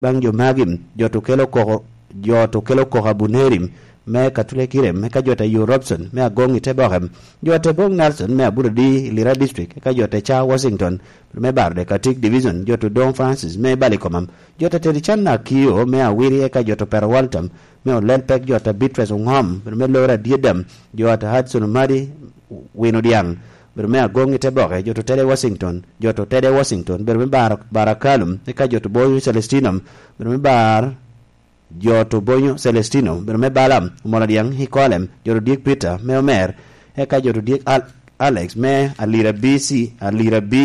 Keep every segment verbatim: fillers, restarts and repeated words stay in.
Baŋ jo magi, jo to kelo koko, jo to kelo koko Abuneri me Katulekirem, eka jo ta Yo Robson me Agoŋ i Teboke, jo ta Boŋ Nelson me Aburodi i Lira District, eka jo ta Ca Washington me Baro Dekatik Division, jo to Doŋ Francis me Balikomam, jo ta Tedi Can Akio me Awiri, eka jo to Pero Walter me Olel Pek, jo ta Beatrice Oŋom me Lora Dyedam, jo ta Hudson Omadi Wino Dyaŋ, bedo me Agoŋ i Teboke, jo to Tede Washington, jo to Tede Washington, bedo me Bar-, Barakalum, eka jo to Boyo Celestino, bedo me Bar-, jo to Bonyo Celestino, bedo me Balaam, Omola Dyaŋ i Kolem, jo to Dyek Peter me Omer, eka jo to Dyek Al-, Alex me Alira B C, Alira B,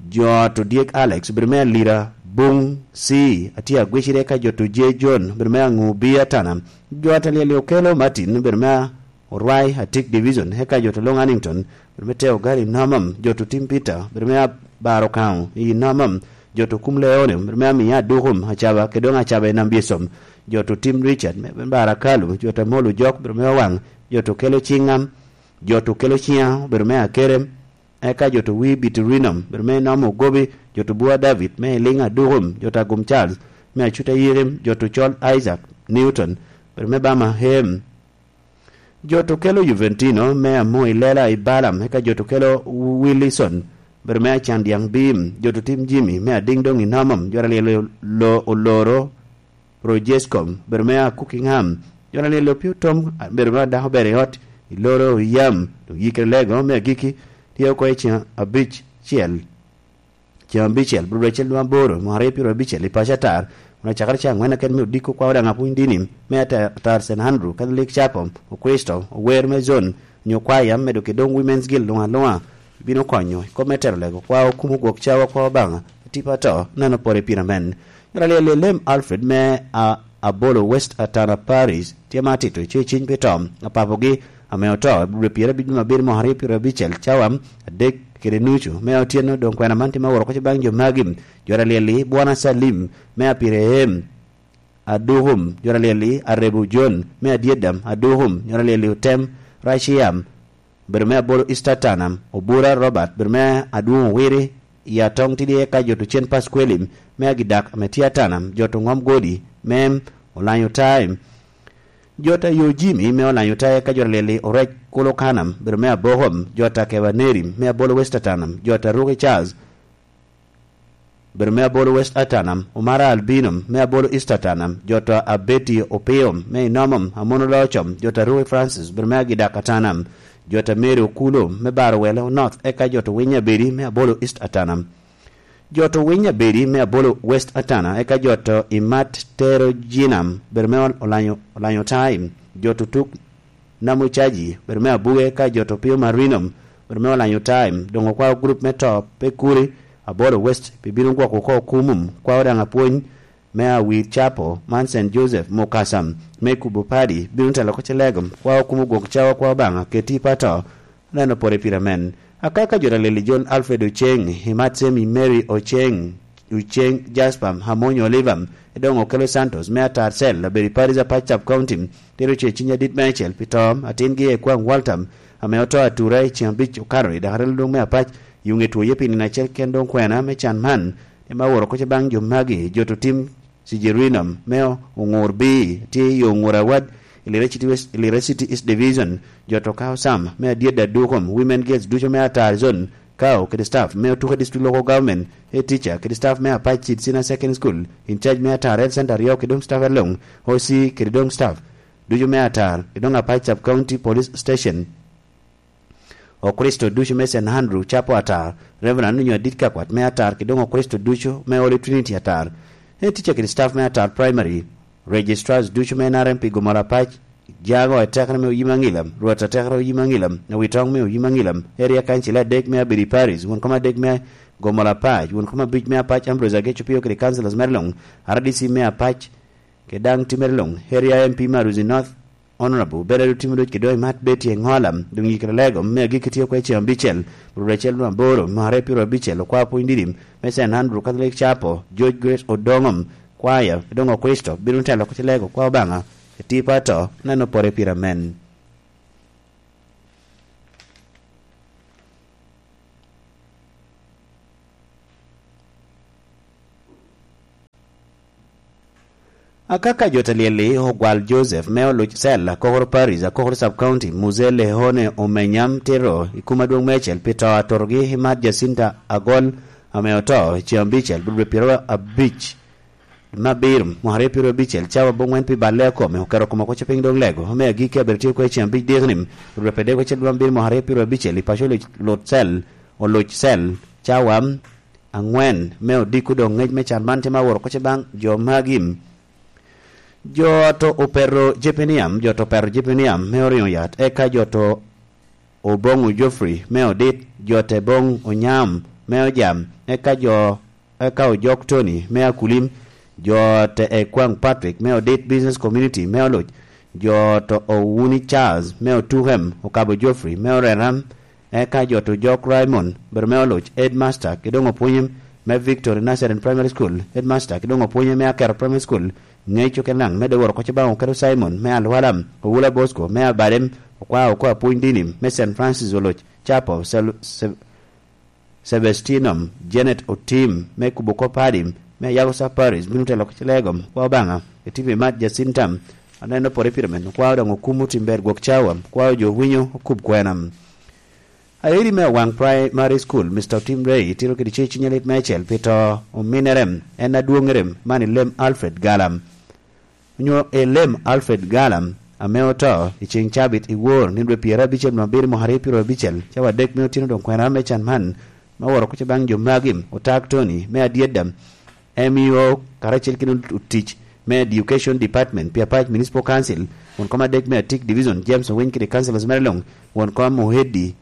jo to Dyek Alex, bedo me Alira Buŋ C, atye agwicire, eka jo to J John, bedo me Aŋu B Atana, jo a Talieli Okelo Martin, bedo me Orwai Atik Division, eka jo to Long Hannington, bedo me Teo Gari Nomam, jo to Tim Peter, bedo me Abaro Kaŋo i Nomam, jo to Kum Leone, bedo me Amiya Adukum, Acaba, kede doŋ Acaba i Nam Byesom, jo to Tim Richard, me, me Barakalu, jo to Molo Jok, bedo me Owaŋ, jo to Kelo Ciŋam, jo to Kelo Ciŋa, bedo me Akerem, eka jo to Wi Bitirinum, bedo me Nomo Ogobi, jo to Bua David, me Eliŋ Adukum, jo to Agum Charles, me Acuta Yirim, jo to Col Isaac Newton, bedo me Bama Hem, jo to Kelo Juventino, me Amo i Lela i Balam, eka jo to Kelo Willison, bedo me Acan Dyaŋ Bim, jo to Tim Jimmy, me Adiŋ Doŋ i Nomam, jo to Alyelo Lo Oloro, Projescom, bedo me Akuki Ŋam, jo to Alyelo Pio Tom, bedo me Adako Ber i Ot, i Loro i Yam, doŋ Yikere Lego, me Agiki, tye oko i Ciŋ Abic Ciel. Ceŋ abicel, bur acel nwa aboro, mwaka aryo pyero abicel, i paco atar, kun acakere caŋ angwen aket me odiko kwao daŋ apwony dini, me ata-, atar Saint Andrew, Catholic Chapel, Okristo, ower me zon, onyo kwaya, medo kede doŋ Women's Guild luŋ aluŋa, bino konyo i kop me tero lego kwao, kumo gwok cawa kwao Obaŋa, atipa ato, neno pore pire men. Myero alyel i lem Alfred me a-, Abolo West Atana Parish, tye ma atito, tye ciny pi to, apapogi, ame oto, i bur pyero abic me abiro mwaka aryo pyero abicel, cawa adek kede nucu me otyeno, doŋ kwena man tye me woro oko baŋ jo magi, jo alyel-li, Bwana Salim, me Apirehim, Adukum, jo alyel-li, Arebu John, me Adyedam, Adukum, jo alyel-li, Otem, Raciam, bedo me Abolo East Atanam, Obura Robert, bedo me Adwoŋ Owiri, i Atong Tidi, eka jo to Cen Pasquelim, me Agidak, ame tye Atanam, jo to Ŋom Godi, me Olanyo Time, jo ta Yo Jimmy, me Olanyo Time, eka jo alyel-li, Orec Kulo Kanam, bedo me Abokom, jo ta Keba Nerim, me Abolo West Atanam, jo ta Ruki Charles, bedo me Abolo West Atanam, Omara Albino, me Abolo East Atanam, jo to Abeti Opio, me Inomom, Amono Locom, jo to Arui Francis, bedo me Agidak Atanam, jo to Mary Okulo, me Baro Welo North, eka jo to Winy Abedi, me Abolo East Atanam, jo to Winy Abedi, me Abolo West Atana, eka jo to Imat Tero Jinam, bedo me Olanyo, Olanyo Time, jo to Tuk Namo Caji, bedo me Abuge, ka jo to Pio Marino, bedo me Olanyo Time, doŋ okwao gurup me to pe kuri, Abolo West, pi bino gwoko oko kumum, kwao daŋ apwony me Awir Capo, man Saint Joseph, Mukasa, me Kubo Padi, bino telo oko Celegom, kwao kumo gwok cawa kwao Obaŋa, keti pa to, neno pore pire men. Akaka jo ta leli John Alfred Oceng, Imat Semi Mary Oceng, Oceng Jasper, Amony Oliver, Edoŋ Okelo Santos, me Atar Cell, abedo i Paris Apac Sub County, tero ce ciny adit me acel pi to atingi Ekwaŋ Walter, ame oto atura i ceŋ abic okato i dakare lulung me Apac, i ŋe two ye pi nino acel ken doŋ kwena me can man, ema woro koca baŋ jo magi, jo to tim Sijerinom, me Oŋur B, tye i Oŋur Awad, i Lira City West, i Lira City East Division, jo to kao Sam, me Adyet Adukom, Women Girls ducu me Atar Zone, kao kede staff me Otuke District Local Government, head teacher kede staff me Apac Seed Senior Secondary School, in charge me Atar Health Center aryo kede doŋ staff along, O C kede doŋ staff ducu me Atar, kede doŋ Apac Sub County Police Station. Okricito ducu me Saint Andrew Chapel Atar, Reverend onyo adit ka kwat me Atar, kede doŋ Okricito ducu me Holy Trinity Atar, head teacher kede staff me Atar Primary, registrars ducu me N R M P Gomora Apac, Jago atekere me Oyim Aŋilam, Rwot atekere Oyim Aŋilam, Awitoŋ me Oyim Aŋilam, Area Council adek me Abedi Parish, won kom adek me Gomora Apac, won kom abic me Apac Ambrose Ageco Pio kede councillors mere luŋ, R D C me Apac, kede daŋ timere luŋ, Area M P Maruzi North, Honorable Bernard Otimo Duc kede Imat Betty Eŋola, doŋ yikere lego me agikki tye kwe ceŋ abicel, rwot acel nwa aboro, mwaka aryo pyero abicel, okwao pwony didim me Saint Andrew Catholic Chapel, George Grace Odoŋom, kwaya, doŋ Okricito bino telo oko ci lego kwa Obaŋa, etipa to, neno pore pire amen. Akaka jo te lyel-li ogwal Joseph me oluc cel akokoro Paris, akokoro Sub County, Muzee Lehone Omenyam Tiro i kum adwoŋ meicel pi to a turogi i mat Jacinta Agol ame oto i ceŋ abicel, dwe pyeraryo abic me abiro, mwaka aryo pyeraryo abicel, cawa aboŋwen pi balle a kome, oketo kome oko piny doŋ lego, me agikki abedo tye oko i ceŋ abic dikni, dwe pyeraryo acel dwe abiro mwaka aryo pyeraryo abicel, i paco oluc cel, oluc cel, cawa aŋwen me odiko doŋ ŋec me can man tye ma woro oko baŋ jo magi. Jo to opeto Jepiniam, jo to opeto Jepiniam me oriŋo yat, eka jo to oboŋo Jofri me odit, jo te boŋ onyam me ojam, eka jo, eka ojok Tony me akulim, jo te ekwaŋ Patrick me odit business community me oluc, jo to owuni Charles me otukem okabo Jofri me oreram, eka jo to jok Raymond bedo me oluc headmaster ki doŋ opwonye me Victory Nazarene Primary School, headmaster ki doŋ opwonye me Akero Primary School, ŋec okenaŋ me doworo koc baŋ oketo Simon me Alwala, Owula Bosco me Abadem, okwao oko apwony dini me Saint Francis oluc, Chapo, Sel-, Se-, Sebestinum, Janet Otim me kubo kop Adim, me Yago Saparis, bino telo koc legom, kwa Obaŋa, etipi mat Jacintam, aneno pore pire men, okwao doŋ okumo tim ber gwok cawa, okwao jo winyo okub kwenam. Aeri me Awaŋ Primary School, Mister Tim Ray, tiro kede ce cunye lit meicel pi to ominere, en adwoŋere man i lem Alfred Galam. Onyo i lem Alfred Galam, ame oto i ceŋ cabit i wor ni dwe pyerabicel me abiro mwaka aryo pyerabicel, cawa adek me otino doŋ kwena me can man, me oworo kuca baŋ jo magi, otak Tony, me adyedda, M E O, karacel kede otic me Education Department pi Apac Municipal Council, won kom adek me Atik Division, James Owiny kede councillors mere luŋ, won kom oheddi,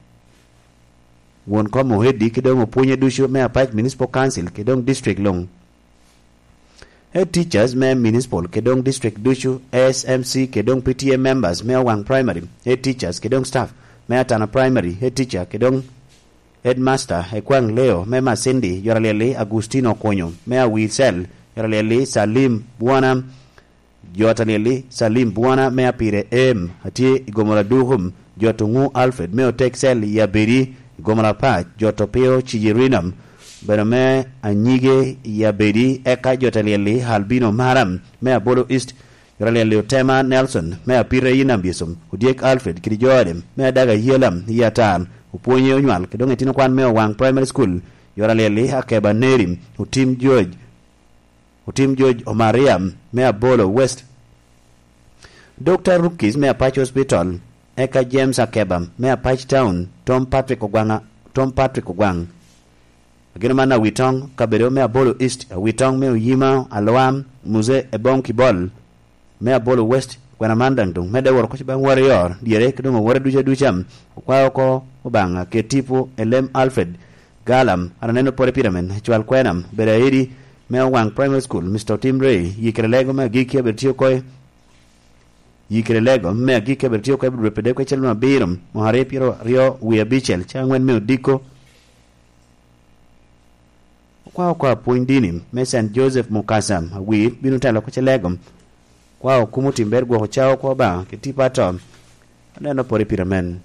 won kom oheddi, kede doŋ opwonye ducu me Apac Municipal Council, kede doŋ district luŋ. Head teachers me municipal, kede doŋ district ducu, S M C, kede doŋ P T A members me Owaŋ Primary, head teachers, kede doŋ staff me Atana Primary, head teacher, kede doŋ headmaster, Ekwaŋ Leo me Masindi, Yoralyelli Agustino Okonyo, me Awicel, Yoralyelli Salim Bwana, Jot Alyelli Salim Bwana me Apire Em, atye i Gomora Dukum, Jot Oŋu Alfred me Oteksel i Abedi, i Gomora Pac, Jot Opio Cijirinam, bene me Anyige i Abedi, eka Jot Alyelli Albino Maram me Abolo East, Jot Alyelli Otema Nelson me Apire i Nambisum, Odyek Alfred kede Joadem me Adaga Yelam i Atal, opwonye onywal, kede doŋ etino kwan me Owaŋ Primary School, Jot Alyelli Akeba Neri, Otim George, Otim George Omariam me Abolo West, Doctor Rukis me Apac Hospital, eka James Akeba me Apac Town, Tom Patrick Ogwaŋ, Tom Patrick Ogwaŋ. Ageno man Awitoŋ, kabedo me Abolo East, Awitoŋ me Oyima, Alwam, Muse Ebong Kibol, me Abolo West, kwena man daŋ doŋ medde woro koc baŋ Warrior, dyere, ki doŋ owore duca duca. Okwao oko Obaŋa ket tipo i lem Alfred Galam, an aneno pore pire men, cwal kwenam, bedo aidi me Owaŋ Primary School, Mister Tim Ray, yikere lego me agikki abedo tye oko i, yikere lego me agikki abedo tye oko i dwe pede kwecel me abiro, mwaka aryo pyero aryo wie abicel, ca aŋwen me odiko. Okwao oko apwony dini me Saint Joseph Mukasa, awir, bino telo oko Celegom. Kwao okumo tim ber gwoko cawa oko Obaŋa, ki tipo ato. Aneno pore pire men.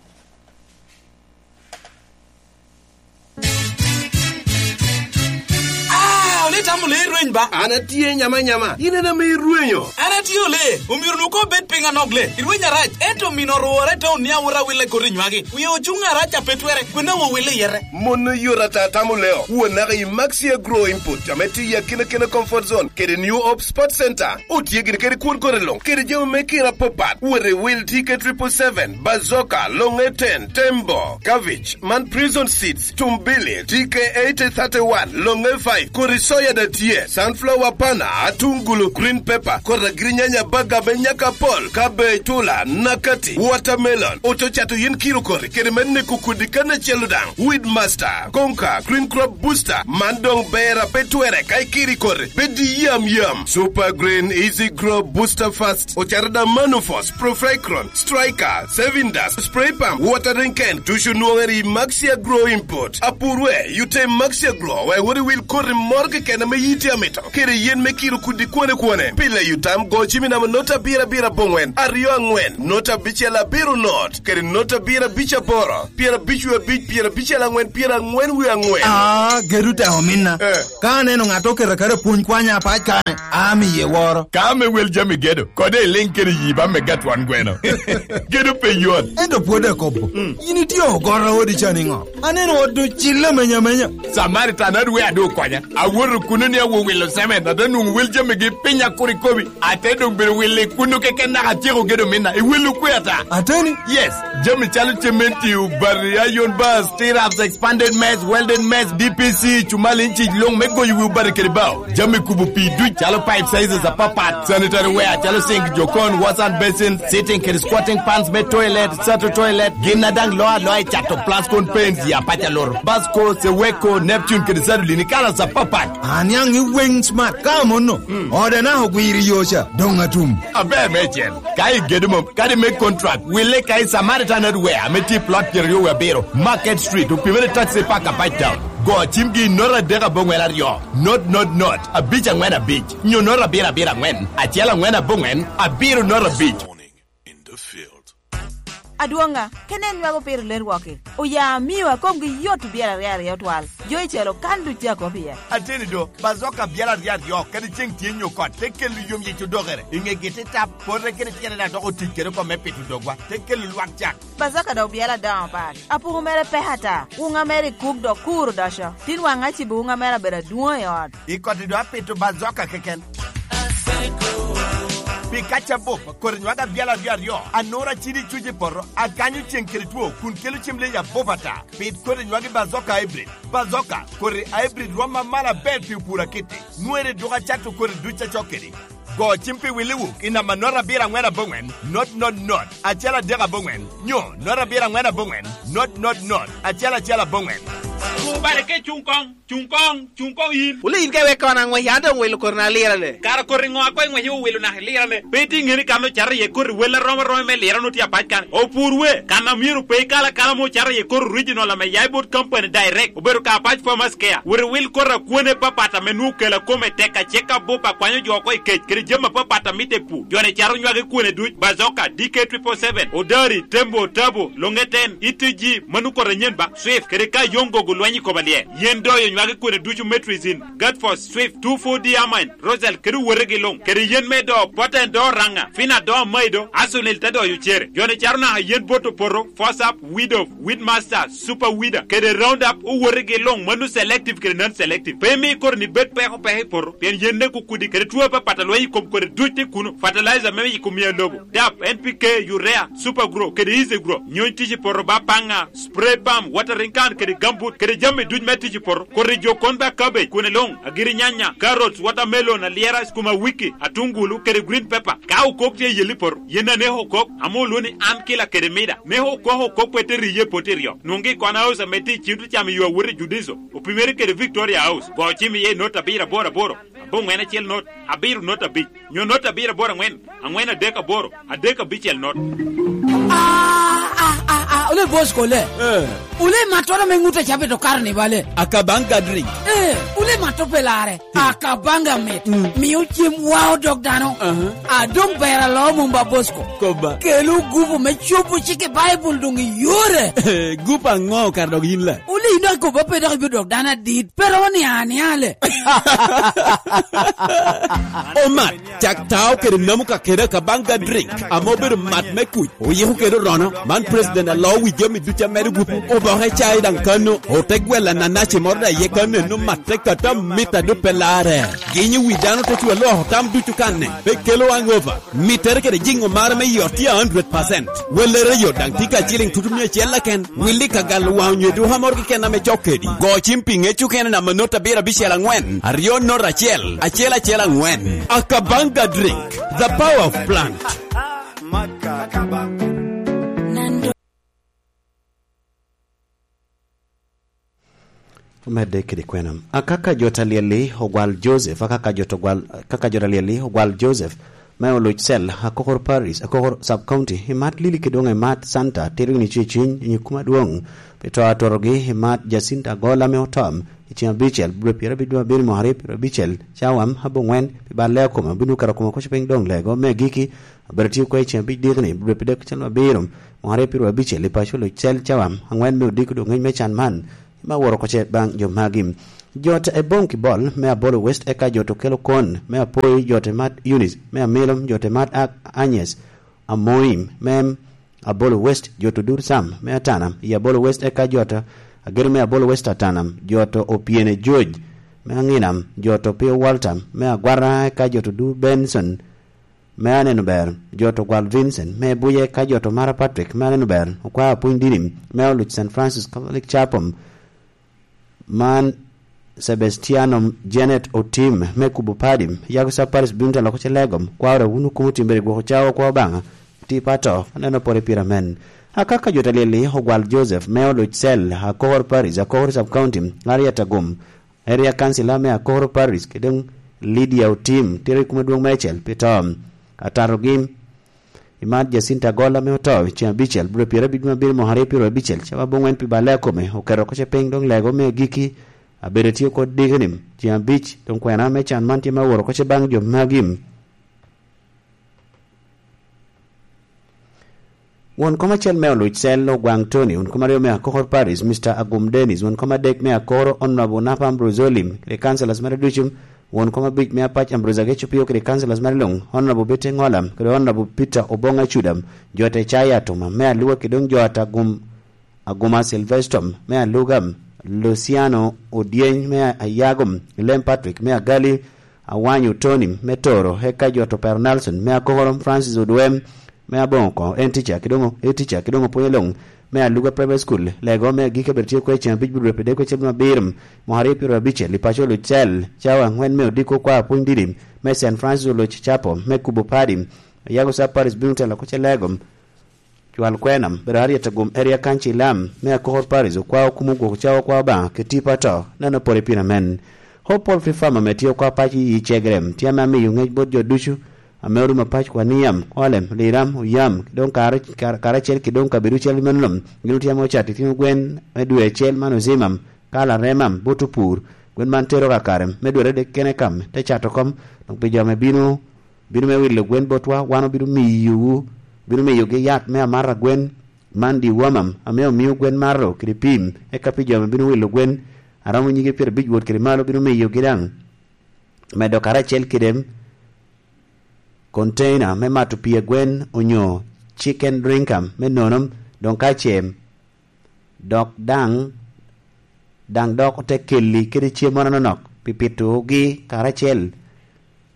Ah, ole tamo le rweny ba? An atye nyama nyama, in en ame irwenyo. An atye ole, omyero nu ko bed piny anok le. Irweny arac, ento mino orwore te onia wora wille kori nywagi. Wie ocuŋ arac a pe twere, kwena wo wille yere. Mon oyot ata tamo leo. Won naka i Maxi Agro Input, ame tye i akina kina comfort zone, kede New Hope Sports Center. Otye gin kede kwon kore luŋ, kede jami me kira apapat. Wot i wil T K triple seven, Bazooka, Longe ten, Tembo, Cabbage, man Prison Seeds, Tumbili, T K eighty thirty-one, Longe five, kodi soya da tye, sunflower pana, atungulu, green pepper, kodi agirinyanya, baga me nyaka pol, cabbage, tula, nakati, watermelon, oto cato yen kiro kori, kede me neko kudi kan acel daŋ. Weedmaster, Konka, Green Crop Booster, man doŋ ber a pe twere ka ikiri kori, bed yam yam. Super Green, Easy Grow, Booster Fast, ocato da Manufos, Profecron, Striker, Saving Dust, Spray Pump, Watering Can, ducu nwoŋere i Maxi Agro Import. Apurwe, yute i Maxi Agro, wek wot iwil koti moro keken ame yiti amit. Kede yen me kiro kudi kwone kwone. Pi leyo tam, go cim i namba nota abiro abiro aboŋwen, aryo aŋwen, nota abicel abiro not, kede nota abiro abic aboro, pyerabic wie abic, pyerabicel aŋwen, pyeraŋwen wie aŋwen. Ah, gedo te ominna. Eh. Ka aneno ŋat oketo aketa pwony kwanya apac kane, amiye woro. Ka ame wel jami gedo, kode iliŋ kede yi ba me gatwan gweno. Gedo pe yot. Ento pwod akobo. Mm. Yin itye ogoro odi ca niŋo? Aneno ot ocille amenya amenya. Samaritan adwe adu okonya. Awoto kuno ni awo wilo cement, ate nwoŋo wel jamigi piny akur ikobi. Ate doŋ bedo wilo i kuno keken naka atyeko gedo minna. I wilo kwe ata? Ateni? Yes. Jami calo cementi, obati, iron bars, stirrups, expanded mess, welded mess, D P C, cumal inci luŋ me goyo wi obati kede bao. Jami kubo pii duc calo pipe sizes apapat, sanitary ware calo sink, jokon, wash hand basin, sitting kede squatting pans me toilet, sato toilet, gin a daŋ loo aloa i cato Plascon paints, ya paca loro, Basco, Seweko, Neptune kede Sadolin i kalas apapat. Aniaŋ i Wing Smart ka amonno, mm, ode naka ogwiro i yo ca, doŋ atum. Aber meicel, ka igedo mom, kadi me contract, wille ka i Samaritan Hardware ame tye i plot pyeraryo wie abiro, Market Street, opimere taxi park apac town. Go cimgi i nota adek aboŋwen aryo, not, not, not, abic aŋwen abic, nyo nota abiro abiro aŋwen, acel aŋwen aboŋwen, abiro nota abic. In the field. Adwoŋa, kene en nywago piro ler wok-ki. Oya amio akomgi yot obyelo aryo aryo twal. Jo i celo kan duc tye akop iye. Ateni do, bazoka byelo aryo aryo, kadi ceŋ tye nyo kot, te kelo yom yic odokere. I ŋegi te tap, pote kene tyene daŋ dok otic kede oko me pito dogwa, te kelo lwak cak. Bazoka dok byelo adoŋo pat. Apuku mere pek ata. Wuŋa mere i kuk dok kur odoco. Tin waŋ acibo wuŋa mere abedo adwoŋ i ot. I koti do apito bazoka keken. Pi kaca bup, kodi nywaga abyalo aryo aryo, anura cidi cuc i poto, akanyo ceŋ kede two, kun kelo cem leyi abup ata. Pit kodi nywagi bazoka hybrid. Bazoka, kodi hybrid rwom amalo aber pi opur akitti. Nwere duk acato kodi duc acok kedi. Go cim pi Willi Wuk i namba not abiro aŋwen aboŋwen, not not not, acel adek aboŋwen, nyo not abiro aŋwen aboŋwen, not not not, acel acel aboŋwen. Wubale ke cuŋ koŋ, cuŋ koŋ, cuŋ koŋ yin. Wule yin ka iwek kona aŋwec, an doŋ wilo koti na lirane. Kara koti ŋo a koŋ iŋwec iwilo naka ilirane? Pe itye ŋeni kan ocato iye koti wel arom aroma me lirane otye apac kan. Opur we, kan a myero pe ikal akala mo ocato iye koti original ame ya i bot company direct, obedo ka Apac Farmers Care. Wot iwil koti akwone papat ame nwoŋo kela kome tek, acek abup akwanyo jo oko i kec, kede jami apapat a mitte i pur. Jo-ni cato nywagi kwone duc, Bazoka, D K triple seven, Odari, Tembo, Tabo, Longeten, E T G, mano koti anyen ba, Swift, kede ka yoŋ gogo lweny i koma lye. Yen doyo nywagi kwone ducu, Metrizin, Gatfos, Swift, two four D Amine, Rosal, kede owotegi luŋ, kede yen me do, Poten do Raŋa, Fina do Maido, Asunil te doyo cere. Jo-ni cato naka yen bot opoto, Fosap, Widow, Weedmaster, Super Weeder, kede Roundup, owotegi luŋ, mano selective kede non-selective. Pe imi koti ni bed peko peko i poto, pien yen nek okudi, kede two apapat a lweny i kom kodi duc tye kuno, fertilizer me yiko mia lobo, dap, N P K, urea, Super Grow, kede Easy Grow, nyony tic i poto ba paŋa, spray pump, watering can, kede gambut, kede jami duc me tic i poto, kodi jo kon ba cabbage, kwene luŋ, agiri nyanya, carrots, watermelon, alyera, skuma wiki, atungulu, kede green pepper. Ka okok tye i yelli poto, yen aneko okok, ame olwo ni an kila kede mida. Neko okok okok pe te riye poti ryo. Nwoŋgi i Kona House ame tye i Cintocam i yo awot i Judiso, opimere kede Victoria House. Go cim iye i not abiro aboro aboro, aboŋwen acel not, abiro not abic, nyo not abiro aboro aŋwen, aŋwen adek aboro, adek abicel not. Ah, ah, ah, ah, ole boss kole. Eh. Ole matoro me ŋute cabito karo ni bale. Akabanga drink. Eh, ole mato pelare. Akabanga mit. Mm. Mio cem wa odok dano. Aha. Adong ber alo mumba Bosco. Koba. Kelo gupu me cobo cik i Baibul dong i yore. Gupu aŋo kar dok yin la? Wuli ino akobo pe dok ibiro dok dano adit. Pero ni ani ale. Omat, cak tao kede namu ka kede Akabanga drink. Amo bedo mat me kuc. Oyiko kede orono, man president alo wi jami ducu amedo gupu. Oboke cai daŋ kano, ote gwel ananaci moro daŋ iye kano eno matte kata mit a duk pe larre. Ginyo wi dano te cwa loko tam ducu kanne, pe kelo hangover. Mittere kede jiŋo mare me yot tye a hundred percent. Wellere yot daŋ tye ka ciliŋ tutu mia acel keken. Willi ka galo waŋ onyo duka moro keken ame cok kedi. Go cim pi ŋec okene namba not abiro abicel aŋwen, aryo not acel, acel acel aŋwen. Akabanga drink, the power of plant. Omedde kede kwena. Akaka jo ta lyel-li ogwal Joseph, akaka jo ta gwal, kaka jo ta lyel-li ogwal Joseph, me oloc cell Akokor Parish, Akokor Sub County, i mat Lili kede doŋ i mat Santa, tito gini ceciny i nyig kuma dwoŋ pi to atorogi i mat Jacinta Agola me otom i ceng abicel, dwe pyerabicel dwe abiro mwaka aryo pyerabicel, cawa aboŋwen pi balle akoma, bino kato koma koc piny doŋ lego me agiki, abedo tye kwe i ceng abic dikni, dwe pyerabicel dwe abiro mwaka aryo pyerabicel i paco oloc cell cawa aŋwen me odiko doŋ ngec me can man, me aworo koce baŋ jo magi. Jot e Bong Kibol me Abolo West eka jot okelo kon me apoi, jot e Mat Eunice me Amilom, jot e Mat Ak Agnes Amoim me Abolo West, jot Odur Sam me Atanam i Abolo West eka jot Agero me Abolo West Atanam, jot Opiene George me Aŋinam, jot Opio Walter me Agwara eka jot Odur Benson me Aneno Ber, jot Ogwal Vincent me Buye eka jot Omara Patrick me Aneno Ber, okwao apwony dini me oluc Saint Francis Catholic Chapel, man Sebastiano Janet Otim me Kubo Padi, Yago Saparis Binta Loko Celegom, kwaro wunu kumo timbere gwoko cawa kwa Obaŋa, ti pato, aneno pore pira men. Akaka jo talili Ogwal Joseph me oluc cell Akokor Parish, Akokor Sub County, Ariat Agum, Area Councilor me Akokor Parish, kede Lydia Otim, tiro i kuma dwong meicel, pi to. Atarogi, i mat Jacinta Agola me oto, i ceng abicel, bro pyera abicel, ma bino mwaka aryo pyero abicel, cawa aboŋwen pi balle akome, oketo oko ce piny doŋ lego me agiki, abedo tye kod diki ni, ceng abic, doŋ kwena me can man tye ma woro oko ce baŋ jo magi. Won kom acel me oluc cel Ogwaŋ Tony, won kom aryo me Akokor Paris, Mister Agum Dennis, won kom adek me Akoro Honorable Napa Ambrose Olim, kede councillors mere ducu, won kom abic me Apac Ambrose Ageco Pio, kede councillors mere luŋ, Honorable Bete Ŋolam, kede Honorable Peter Oboŋ Acudam, jo te Caya Atuma, me Aluwa kede doŋ jo ata Agum, Aguma Silvestom, me Alugam, Luciano Odyeny, me Ayagum, Lem Patrick, me Agali, Awanyo Tony, me Toro, eka jo to Pero Nelson, me Akokoro, Francis Odwem, me Aboŋo Koŋo, en tica, kidoŋo, e tica, kidoŋo pwonyo luŋ, me Aluga Primary School, lego me agike bedo tye kwe ceng abic bidwe pede kwe cem abiro, mwaka aryo pyero abicel, i paco Lucel, cawa aŋwen me odiko kwa apwony didi, me Saint Francis Oloc Chapel, me Kubo Padi, Yago Sub Parish bino telo ko ce lego, cwal kwenam, bedo ariet agum area kanci lam, me Akokor Parish, okwa okumo gwoko cawa kwa Obaŋa, ke tipo ato, neno pore piny amen. Hope Poultry Farm ame tye okwa paco i Cegrem, tye ame amiyo ŋec bot jo ducu, ame orumo apac kwa Niam, Olem, Liram, Oyam, doŋ kare, kare, karacel ki doŋ kabedo cel meno lom, gin otye ame ocato itino gwen me dwe acel man Ozimam, ka Laremam, bot opur, gwen man tero kakare, me dwe adek kene kam, te cato kom, doŋ pi jo ame bino, bino me wilo gwen botwa, wan obino miyowu, bino miyogi yat me amata gwen, man dewormam, ame omio gwen mato kede pim, eka pi jo ame bino wilo gwen, aromo nyige pyerabic wot kede malo bino miyogi daŋ. Medo karacel kede container me mato pii a gwen onyo chicken drinker me nono, doŋ ka ce, dok daŋ, daŋ dok ote kelli kede cem moro anonok pi pitogi karacel,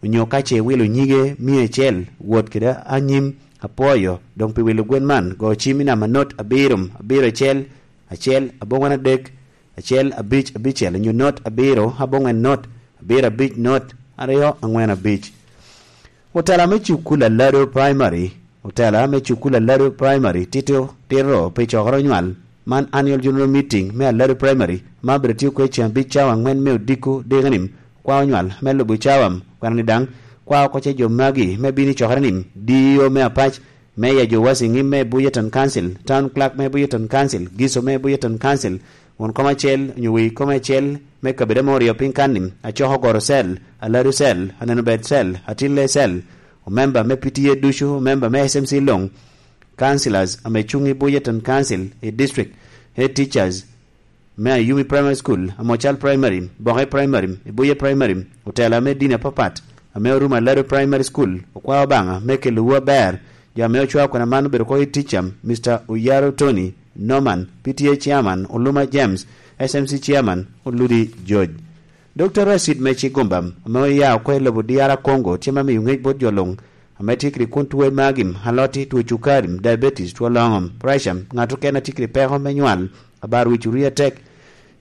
onyo ka ce iwilo nyige mia acel, wot kede anyim apwoyo, doŋ pi wilo gwen man, go cim i namba not abiro, abiro acel, acel, aboŋwen adek, acel, abic, abicel, onyo not abiro, aboŋwen not, abiro abic, not aryo, aŋwen abic. Otela me cukul Alado Primary, otela me cukul Alado Primary tito tito pi cokere onywal, man annual general meeting me Alado Primary, ma bedo tye kwe ceng abic cawa aŋwen me odiko dikeni, kwa onywal me lubo cawa, kwena ni daŋ kwa oko ce jo magi me bino i cokere ni, D E O me Apac, Meya jo Wasiŋi me Bulletin Council, Town Clerk me Bulletin Council, Giso me Bulletin Council, won kom acel, onyo wei kom acel, me kabedo ame oryo piny kan-ni, Acoko Goro Cell, Alado Cell, Aneno Ber Cell, Atille Cell, omemba me P T A ducu, omemba me S M C luŋ, councillors ame cuŋ i Bulletin Council i district, head teachers me Ayumi Primary School, Amocal Primary, Boke Primary, Ibuye Primary, otela me dini apapat, ame orumo Alado Primary School, okwao Obaŋa me kelowu aber, jo ame ocwao kwena man obedo oko i ticca, Mister Oyaro Tony, Norman, P T A Chairman, Oluma James, S M C Chairman, Oludi George. Dokta Racid me Cigumba, ame oya oko i lobo D R Congo, tye ma miyo ŋec bot jo luŋ, ame tye kede kwon tuo i magi, aloti, tuo cukari, diabetes, tuo loŋo, pressure, ŋat okene a tye kede peko me nywal, abar wic orii atek,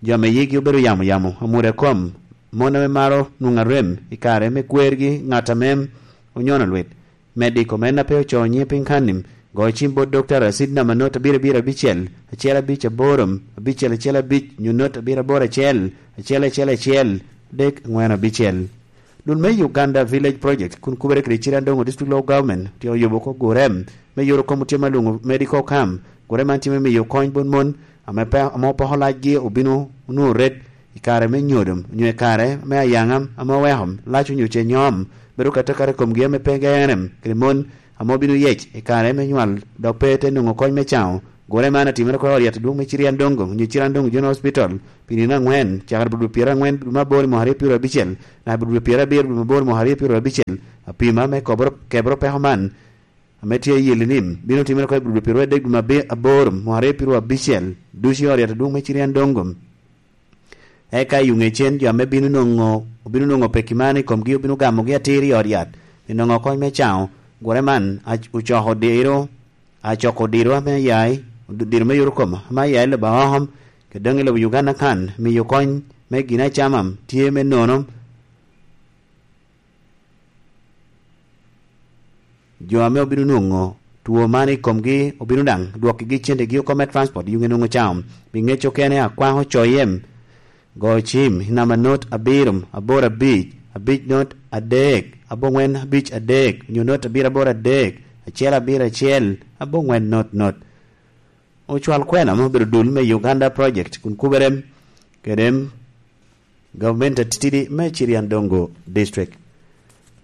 jo ame yigi obedo yamo yamo, amwodo i kom, mon ame maro nwoŋo arem i kare me kwergi, ŋat ame onyono lwit, Mediko men a pe ocoo nyiŋe piny kan-ni, go cim bot Dokta Racid namba not abiro abiro abicel, acel abic aboro, abicel acel abic, nyo not abiro aboro acel, acel acel acel, dek aŋwen abicel. Dul me Uganda Village Project kun kubere kede Chirandongo District Local Government tye oyubo oko gure me yoro kom otyem alwoŋo Medical Camp. Gure man tye me miyo kony bot mon ame pe, ame opoko lacgi obino onwoŋo ret i kare me nyodo onyo i kare me ayaŋa ame oweko lac onyo ce nyom. Bedo katakata i komgi ame pe geŋere kede mon ame obino yec i kare me nywal dok pe te nwoŋo kony me caŋo. Gure man atimere oko i ot yat adwoŋ me Chiriandongo onyo Chirandongo General Hospital pi nino aŋwen, cakere bot dwe pyeraryo aŋwen dwe me aboro i mwaka aryo pyeraryo abicel, naka bot dwe pyerabiro dwe me aboro i mwaka aryo pyeraryo abicel. Apima me koboro, keboro peko man ame tye i Yelinim bino timere oko i bot dwe pyeraryo adek dwe me abe-, aboro mwaka aryo pyeraryo abicel, ducu i ot yat adwoŋ me Chiriandongo. Eka i ŋecen jo ame bino nwoŋo, obino nwoŋo pekki man i komgi obino gamogi atir i ot yat, pi nwoŋo kony me caŋo. Gure man ac-, ocoko diro, acoko diro ame aya i, diro me yore kom ame aya i lobo Ahom, kede doŋ i lobo Uganda kan, miyo kony me gin acama tye me nono. Jo ame obino nwoŋo two man i komgi obino daŋ dwokkigi centegi oko me transport, yuŋe nwoŋo cam. Pi ŋec okene, akwaŋo coyem, go cim i namba not abiro aboro abic, abic not adek, aboŋwen abic adek, onyo not abiro aboro adek, acel abiro acel, aboŋwen not not. Ocwal kwena me obedo dul me Uganda Project kun kubere kede gavumenti atitidi me Chiriandongo District.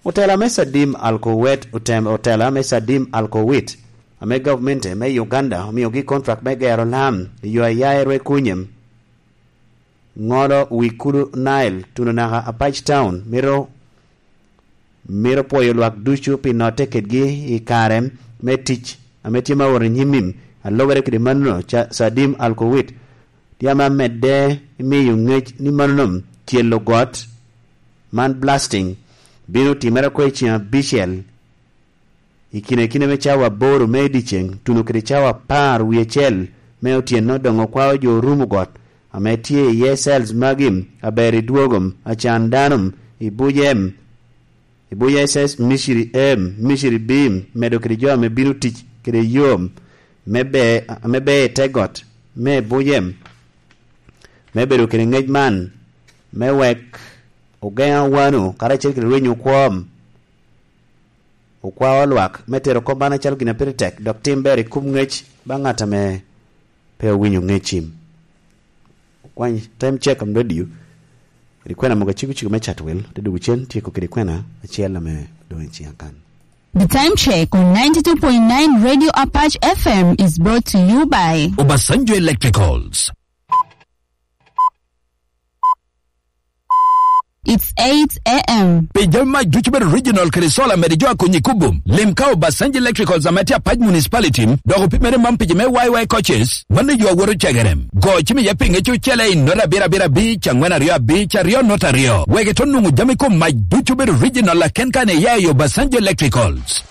Otela me Sadim Alkowet otem-, otela me Sadim Alkowit ame gavumenti me Uganda omiogi kontrak me gero lam i yo a ya i Rwekunyem, ŋolo wi Kulu Nile, tuno naka Apac Town, mito mito pwoyo lwak ducu pi notte kedgi i kare me tic ame tye ma owot i nyim-mi. A lubere kede mano, ca-, Sadim Alkowit tye ame amedde miyo ŋec ni mano nom celo got man, blasting, bino timere oko i ceng abicel i kine kine me cawa aboro me i dyeceŋ, tuno kede cawa apar wie acel me otyeno, doŋ okwao jo orumo got ame tye iye cells magi, aber i dwogom, acan dano, i bujem, i buj S S, Misiri M, Misiri B, medo kede jo ame bino tic kede yo me be-, ame ber i te got me bujem, me bedo kede ŋec man, me wek ogeŋ awano, karacel kede rwenyo okwom, okwao lwak, me tero kop man acalo gin a pire tek, dok tim ber i kum ŋec baŋ ŋat ame pe owinyo ŋec cim. Okwany time check on radio. Kede kwena mogo aciko ciko me Chatwel, te dugo cen tyeko kede kwena acel ame doŋ i ciŋa kan. The time check on ninety-two point nine Radio Apache F M is brought to you by Obasanjo Electricals. It's eight a m. Pi jami mac ducu bedo regional kede solar, mede jo a konyi kubo. Lim ka Obasanjo Electricals ame tye Apac Municipality, dok opimere man pi jo me Y Y coaches, mano yo a woto cegerem. Go cim iye pi ŋec ocele i not abiro abiro abic, angwen aryo abic, aryo not aryo. Wek ito nwoŋo jami kom mac ducu bedo regional aken kan iya i Obasanjo Electricals.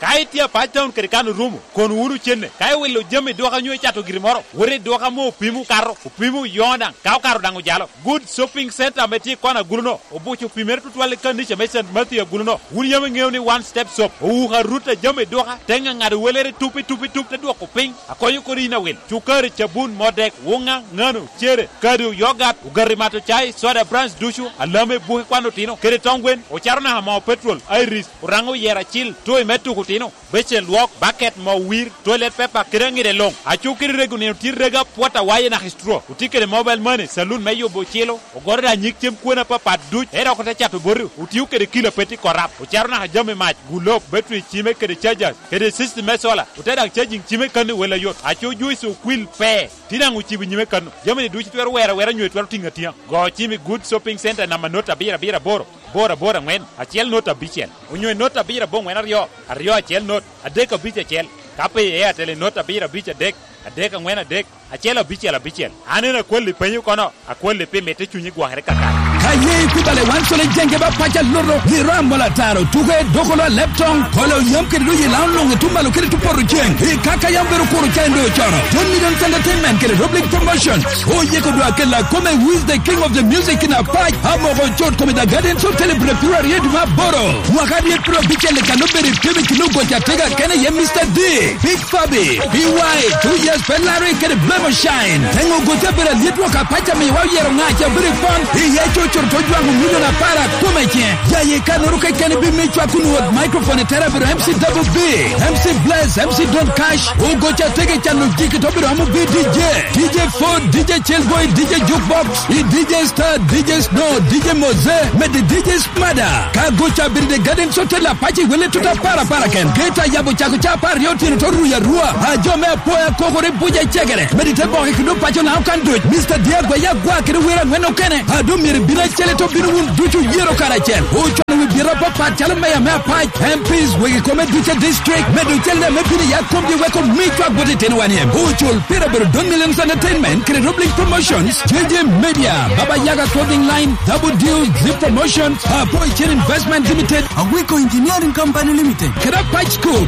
Ka itye Apac Town kede kan orumo, kono wunu cenne. Ka iwilo jami i duka nyo icato giri moro, wot i duka ame opimo okato, opimo oyoŋo daŋ, ka okato daŋ ojalo. Good Shopping Center ame tye i kona agulu-no, obuco opimere tutwal i kanica me Saint Matthew agulu-no. Wun yam iŋeo ni One Step Shop owuko arut a jami i duka, te ŋaŋado welere tup i tup i tup, te dwoko piny, akonyo kodi yin awil. Cukari, cabun, modek, wuŋa, ŋano, cere, kado, yogat, ogati mato cai, soda brands ducu, alame, buke kwan otino, kede tong gwen, ocato naka moo petrol, Iris, Oraŋo oyero acil, toy me tuko otino, becen lwok, baket, moo wir, toilet paper, kede aŋide luŋ. Aco kede rego nino tye rego apwot awaye naka i straw. Otye kede mobile money, saloon me yubo ocilo, ogoro daŋ nyig cem kwena apapat duc, en dok ote cato boti, otio kede kilo a pe tye korap. Ocato naka jami mac, gulop, battery cime kede chargers, kede system me solar, ote daŋ charging cime kan i wel ayot. Aco juice okwil pe, tye daŋ ocibo nyime kan. Jami-ni ducu itwero wero awera nyo itwero tiŋo atiŋa. Go cim i Good Shopping Center namba not abiro abiro aboro, aboro aboro aŋwen, acel not abicel, onyo i not abiro aboŋwen aryo, aryo acel not, adek abic acel. Ka pe i Airtel i not abiro abic adek, adek aŋwen adek, acel abicel abicel. An en akwalli penyo kono, akwalli pi mitte cunyi gwokere kakare. Ka ye ikubale wan cole jenge ba paca luto, giro amola taro, tuke, dokolo a leptong, kolo yam kede doyi laŋo luŋ i tum malo kede tum poto ceng. I kaka yam bedo kuro ca en doŋ ocono. Tony Millions Entertainment kede Rob League Promotions. Oyeko dwa kela kome Who is the King of the Music in Apac, amoko cot kome The Gardens Hotel i Brepiro aryo dwe me aboro. Mwaka aryo pyerabicel i kan obedo i pim i kin ogoco atega kene iye Mister D, Big Fabi, B Y, Two Years Pe Larry kede Blemo Shine. Teŋo ogoco abedo alyet wok apac amiwa oyero ŋaca abedo i pon iye coco To jwaŋo milion apar a kome ciŋe. Jaye kannoro keken ibin me cwak kun wot microphone i tera biro M C Double B, M C Bless, M C Don Cash, Ogoca Tege cano jiki to biro amo bi D J, D J Ford, D J Chillboy, D J Jukebox, i D J Star, D J Snow, D J Moze, med i D J Smada. Ka goca biro de Garden Hotel apac i wele tuta para para ken. Geta yabo cako ca apar aryo otyeno to ruya rua. A jo me apoya kokore buja cegere. Med i te boke kendo paco na okan doc. Mister Diagwa Yagwa kede wer angwen okene. A do myero bino acel to bino wun ducu yero karacel. Ocwalo wi bira papat calo meya me apac, M Ps, wegi kome duce district, medo celle me bino ya komgi weko mi cwak bot itino wan iem. Ocul pira bero Don Millions Entertainment, kede Roblink Promotions, J J Media, Baba Yaga Clothing Line, Double Deal, Zip Promotions, Apo Chen Investment Limited, Awiko Engineering Company Limited, kede Apac School.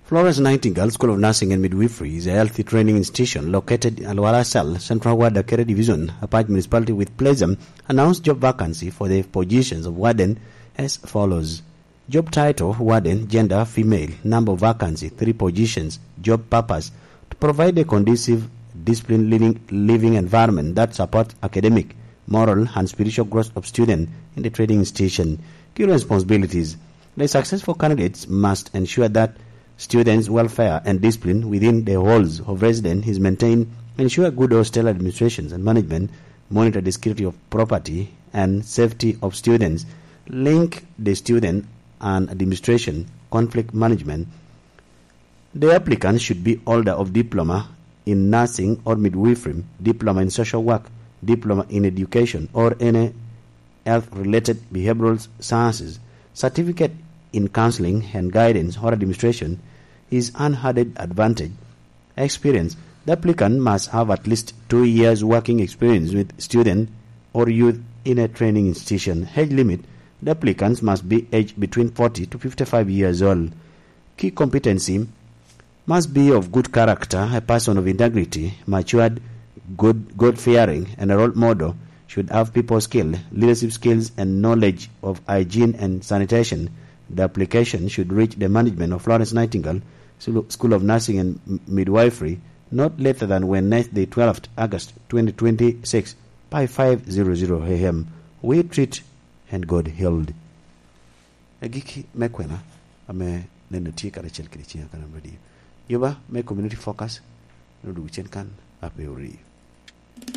Florence Nightingale School of Nursing and Midwifery is a health training institution located in Alwala Cell, Central Ward, Akere Division, Apac Municipality, with pleasure announced job vacancy for the positions of warden as follows. Job title, warden, gender, female, number of vacancy, three positions, job purpose, to provide a conducive, disciplined living, living environment that supports academic, moral, and spiritual growth of students in the training institution. Key responsibilities. The successful candidates must ensure that students' welfare and discipline within the halls of residence is maintained, ensure good hostel administrations and management, monitor the security of property and safety of students, link the student and administration, conflict management. The applicant should be holder of diploma in nursing or midwifery, diploma in social work, diploma in education, or any health-related behavioral sciences. Certificate in counseling and guidance or administration is an added advantage. Experience. The applicant must have at least two years working experience with student or youth in a training institution. Age limit. The applicants must be aged between forty to fifty-five years old. Key competency. Must be of good character, a person of integrity, matured, good, God-fearing, and a role model, should have people skill, leadership skills, and knowledge of hygiene and sanitation. The application should reach the management of Florence Nightingale School of Nursing and Midwifery not later than Wednesday, twelfth August twenty twenty-six, by five zero zero A M. We treat and God healed. Agikki me kwena ame neno tye karacel kede ciŋa kan radio. Yuba me Community Focus, nodwogo cen kan ape orii.